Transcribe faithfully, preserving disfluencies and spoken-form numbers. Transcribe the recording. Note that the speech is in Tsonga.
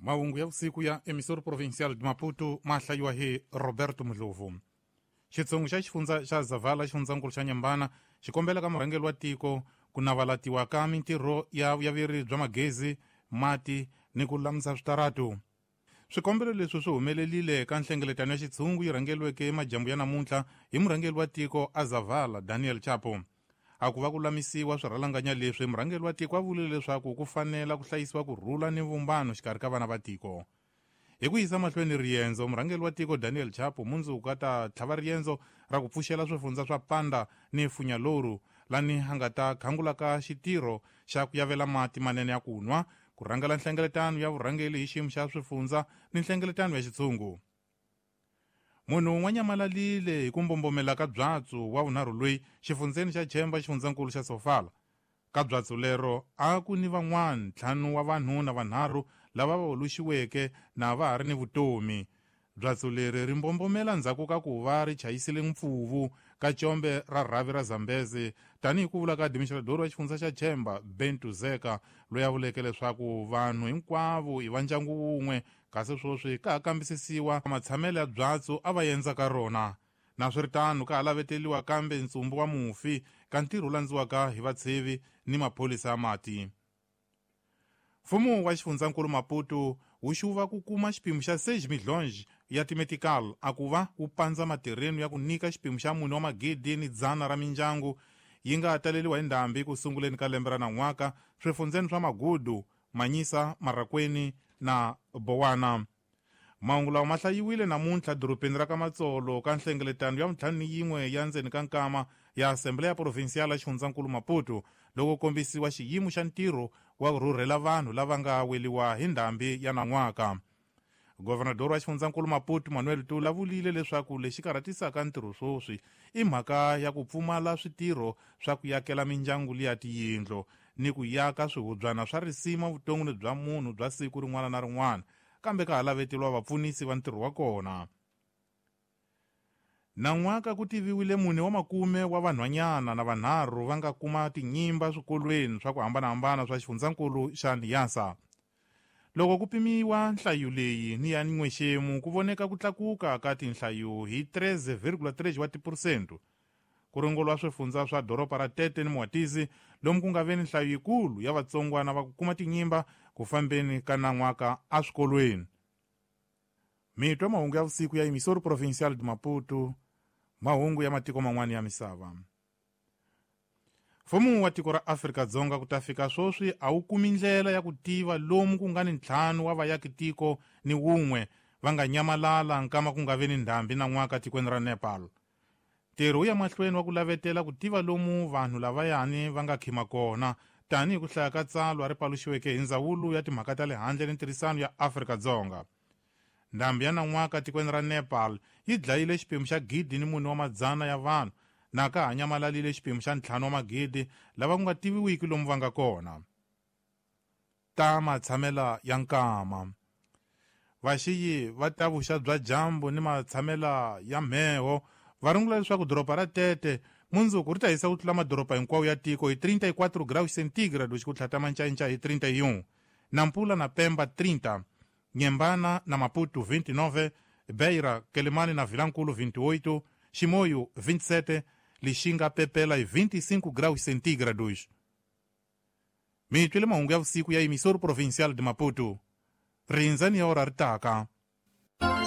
Mahungu ya vusiku ya Emissor Provincial de Maputo ma hlayiwa hi Roberto Mdlovu. Xitshungu xa xifundza xa Zavala xifundzankulu xa Nyambana xi kombela ka murhangeri wa tiko ku navalatiwa ka mintirho ya vuyaveri bya magezi, mati ni ku lulamisa switaratu. Swikombelo leswi swi humelelile ka nhlengeletano ya xitshungu yi rhangeriweke emajambu ya namuntlha hi murhangeri wa tiko a Zavala Daniel Chapo. A ku va ku lulamisiwa swirhalanganya leswi, murhangeri wa tiko a vulile leswaku ku fanela ku hlayisiwa ku rhula ni vumbano xikarhi ka vana va tiko. Hi ku yisa mahlweni riendzo, murhangeri wa tiko Daniel Chapo mundzuku a ta tlhava riendzo ra ku pfuxela swifundza swa Panda ni Funyaloru, lani a nga ta khangula ka xitirho xa ku yavela mati manene ya ku nwa, ku rhangela nhlengeletano ya vurhangeri hi xiyimo xa swifundza ni nhlengeletano ya xitshungu. Munhu un'wana nyamalalile hi ku mbombomela ka byatsu wa vunharhu loyi xifundzeni xa Chemba xifundzankulu xa Sofala. Ka byatsu lero a ku ni van'wana ntlhanu wa vanhu na vanharhu lava va oluxiweke na va ha ri ni vutomi. Byatsu leri ri mbombomela ndzhaku ka ku va ri chayisile mpfuvu ka combe ra rhavi ra Zambezi, tanihi ku vula ka administrador wa xifundza xa Chemba Bentu Zeka, loyi a vuleke leswaku vanhu hinkwavo i va ndyangu wun'we, kasi sweswi ka ha kambisisiwa matshamelo ya byatsu a va endza ka rona. Naswiritano ka ha laveteliwa kambe ntsumbu wa mufi ka ntirho wu landziwaka hi vatshevi ni maphorisa ya mati. Mfumo wa xifundzankulu Maputo wu xuva ku kuma xipimo xa seis milhões ya timetical a ku va wu pandza matirhelo ya ku nyika xipimo xa mune wa magidi ni dzana ra mindyangu yi nga taleriwa hi ndhambi ku sunguleni ka lembe ra nan'waka swifundzeni swa Magudu, Manyisa, Marakweni na Bowana. Mahungu lawa ma hlayiwile namuntlha dorobeni ra ka Matsolo ka nhlengeletano ya vuntlhanu ni yin'we ya ndzeni ka nkama ya Assembleya Provincial ya xifundzankulu Maputo, loko kombisiwa xiyimo xa ntirho wa ku rhurhela vanhu lava nga weliwa hi ndhambi ya nan'waka. Governador wa xifundzankulu Maputo Manuel Tula vulile leswaku lexi karhatisaka ntirho sweswi i mhaka ya ku pfumala switirho swa ku yakela mindyangu liya tiyindlo ni ku yaka swihubyana swa risima vuton'wini bya munhu bya siku rin'wana na rin'wana, kambe ka ha laveteliwa vapfunisi va ntirho wa kona. Nan'waka ku tiviwile mune wa makume wa vanhwanyana na vanharhu va nga kuma tinyimba swikolweni swa ku hambanahambana swa xifundzankulu xa Niassa. Loko ku pimiwa nhlayo leyi ni ya n'wexemu ku voneka ku tlakuka ka tinhlayo hi treze vírgula três wa tiphurusente. Ku runguriwa swifundza swa doroba ra Tete ni Mwatisi lomu ku nga ve ni nhlayo yikulu ya vatsongwana va ku kuma tinyimba ku fambeni ka nan'waka eswikolweni. Mitwa mahungu ya vusiku ya Emissor Provincial de Maputo, mahungu ya matiko man'wana ya misava. Mfumo wa tiko ra Afrika-Dzonga ku ta fika sweswi a wu kumi ndlela ya ku tiva lomu ku nga ni ntlhanu wa vayaki tiko ni wun'we va nga nyamalala nkama ku nga ve ni ndhambi nan'waka tikweni ra Nepal. Ntirho wu ya mahlweni wa ku lavetela ku tiva lomu vanhu lavayani va nga khima kona, tanihi ku hlaya ka tsalwa ri paluxiweke hi ndzawulo ya timhaka ta le handle ni ntirhisano ya Afrika-Dzonga. Ndhambi ya nan'waka tikweni ra Nepal yi dlayile xipimo xa gidi ni mune wa madzana ya vanhu, na ka ha nyamalalile xipimo xa ntlhanu wa magidi lava ku nga tiviwiki lomu va nga kona. Ta matshamela ya nkama. Vaxiyi va ta vuxa bya dyambu ni matshamela ya mheho va rungula leswaku doroba ra Tete mundzuku ri ta hisa ku tlula madoroba hinkwawo ya tiko hi trinta e quatro graus centígrados ku tlhata mancainca hi trinta e um, Nampula na Pemba trinta, Nhembana na Maputo vinte e nove, Beira, Quelimane na Vilankulo vinte e oito, Chimoio vinte e sete, Lixinga Pepela e vinte e cinco graus centígrados. Mitwile mahungu ya vusiku ya Emissor Provincial de Maputo. Rindzani ya ora ri taka.